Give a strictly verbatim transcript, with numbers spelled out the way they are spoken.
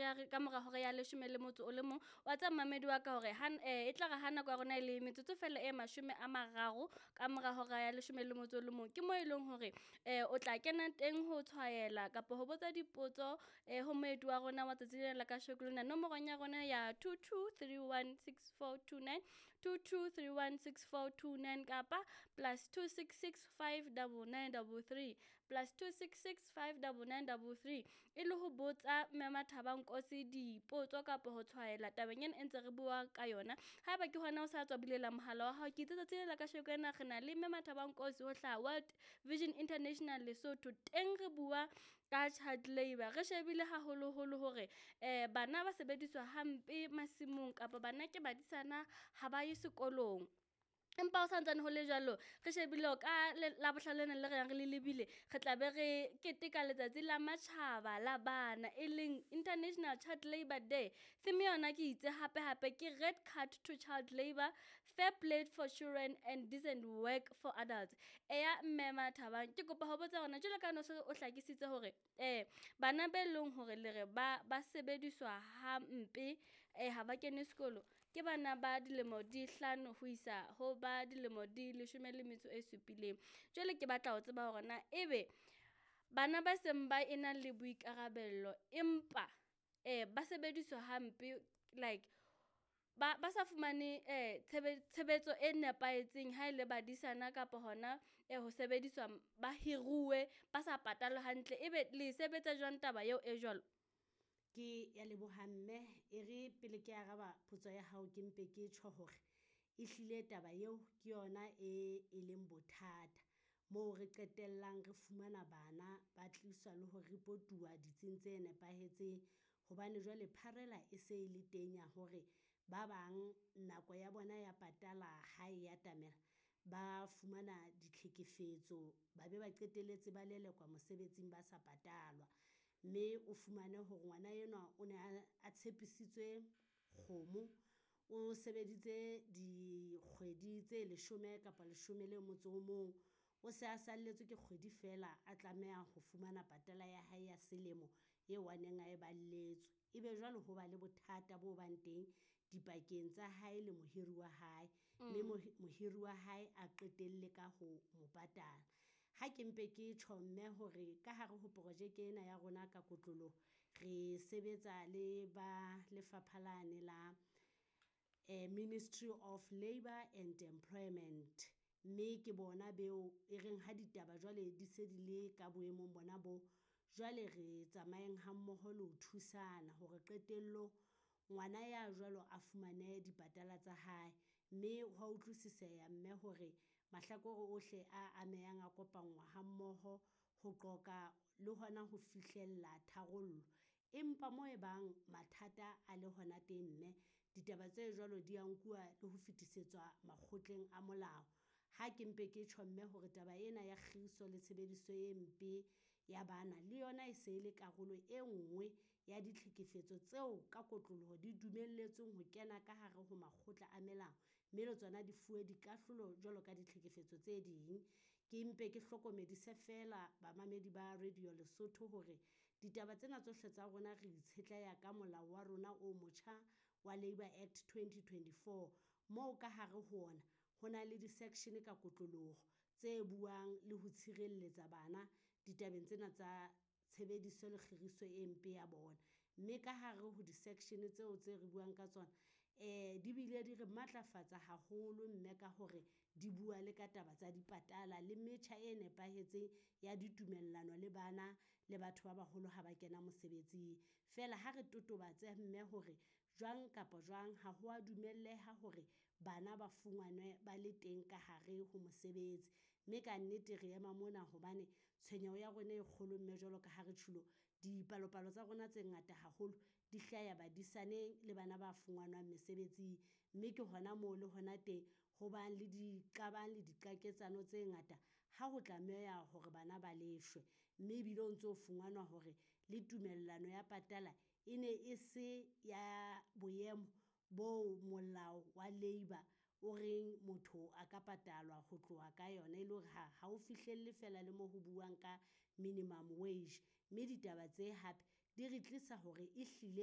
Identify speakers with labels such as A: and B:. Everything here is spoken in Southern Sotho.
A: Re ya ka mora hora ya leshome le motso o le mong. Wa tseba momamedi wa ka hore e tla re ha nako ya rona e le metsotso fela e mashome a mararo ka mora hora ya leshome le motso o le mong, ke mo e leng hore o tla kena teng ho tshwaela kapa ho botsa dipotso ho moeti wa rona wa tsatsi lena la kasheko lena nomorong ya rona ya two two three one six four two nine, two two three one six four two nine kapa plus two six six five double nine double three, plus two six six five double nine double three. E le ho botsa Mme Mathaba Nkosi dipotso kapa ho tshwaela tabeng ena e ntse re bua ka yona. Haeba ke hona o sa tswa bulela mohala wa hao, ke itse tsatsi lena la kasheko ena re na le Mme Mathaba Nkosi ho hlaha World Vision International Lesotho. Teng re bua ka child labour, re shebile haholoholo hore bana ba sebediswa hampe masimong kapa bana ke badisana ha ba ye sekolong. Empa ho santsane ho le jwalo, re shebile ka Labohlano lena le re yang re le lebile, re tla be re keteka letsatsi la matjhaba la bana, e leng International Child Labour Day. Theme yona ke itse hape hape ke red card to child labour, fair play for children and decent work for adults. Eya Mme Mathabang, ke kopa ho botsa hore jwalo ka ha o o hlakisitse hore bana be leng hore le re ba ba sebediswa hampe ha ba kene sekolo, ke bana ba dilemo di hlano ho isa ho ba dilemo di leshome le metso e supileng. Jwale ke batla ho tseba hore na ebe bana ba seng ba ena le boikarabello empa ba sebediswa hampe like ba ba sa fumane tshebetso e nepahetseng ha ele badisana kapa hona ho sebediswa ba hiruwe ba sa patalwe hantle, ebe le sebetsa jwang taba eo e jwalo?
B: Ke ya leboha mme, e re pele ke araba potso ya hao, ke mpe ke tjho hore ehlile taba eo ke yona e e leng bothata. Moo re qetellang re fumana bana ba tliswa le ho report-uwa ditsing tse nepahetseng. Hobane jwale pharela e se e le teng ya hore ba bang nako ya bona ya patala ha e atamela, ba fumana ditlhekefetso ba be ba qetelletse ba lelekwa mosebetsing ba sa patalwa. Mme o fumane hore ngwana enwa o ne a a tshepisitswe kgomo, o sebeditse dikgwedi tse leshome kapa leshome le motso o mong. O se a salletswe ke kgwedi feela a tlameha ho fumana patala ya hae ya selemo eo a neng a e balletswe. Ebe jwale ho ba le bothata bo bang teng dipakeng tsa hae le mohiri wa hae, mme mohiri wa hae a qetelle ka ho mo patala. Ha ke mpe ke tjho mme hore ka hare ho projeke ena ya rona ka kotloloho, re sebetsa le ba lefapha lane la Ministry of Labour and Employment. Mme ke bona beo e reng ha ditaba jwale di se di le ka boemong bona bo, jwale re tsamayeng ha mmoho le ho thusana hore qetellong ngwana ya jwalo a fumane dipatala tsa hae. Mme hwa utlwisiseha mme hore mahlakore ohle a amehang a kopangwa ha mmoho ho qoqa le hona ho fihlella tharollo. Empa mo e bang mathata a le hona teng mme, ditaba tse jwalo di ya nkuwa le ho fetisetswa makgotleng a molao. Ha ke mpe ke tjho mme hore taba ena ya kgiriso le tshebediso e mpe ya bana le yona e se le karolo e nngwe ya ditlhekefetso tseo ka kotloloho di dumelletsweng ho kena ka hare ho makgotla a melao. Mme le tsona di fuwe dikahlolo jwalo ka ditlhekefetso tse ding. Ke mpe ke hlokomedise feela bamamedi ba Radio Lesotho hore ditaba tsena tsohle tsa rona re itshetleha ka molao wa rona o motjha wa Labour Act twenty twenty-four. Moo ka hare ho ona ho na le di-section ka kotloloho tse buang le ho tshireletsa bana ditabeng tsena tsa tshebediso le kgiriso e mpe ya bona. Mme ka hare ho di-section tseo tse re buang ka tsona, di bile di re matlafatsa haholo mme ka hore di bua le ka taba tsa dipatala le metjha e nepahetseng ya ditumellano le bana le batho ba baholo ha ba kena mosebetsing. Feela ha re totobatse mme hore jwang kapa jwang ha ho a dumelleha hore bana ba fumanwe ba le teng ka hare ho mosebetsi. Mme ka nnete re ema mona hobane tshwenyeho ya rona e kgolo mme jwalo ka ha re tjhulo, dipalopalo tsa rona tse ngata haholo di hlaya badisaneng le bana ba fumanwang mesebetsing. Mme ke hona moo le hona teng ho bang le diqabang le diqaketsano tse ngata ha ho tlameha hore bana ba leshwe. Mme ebile o ntso fumanwa hore le tumellano ya patala e ne e se ya boemo bo molao wa labour o reng motho a ka patalwa ho tloha ka yona. E le hore ha ha o fihlelle feela le mo ho buang ka minimum wage. Mme ditaba tse hape di re tlisa hore ehlile.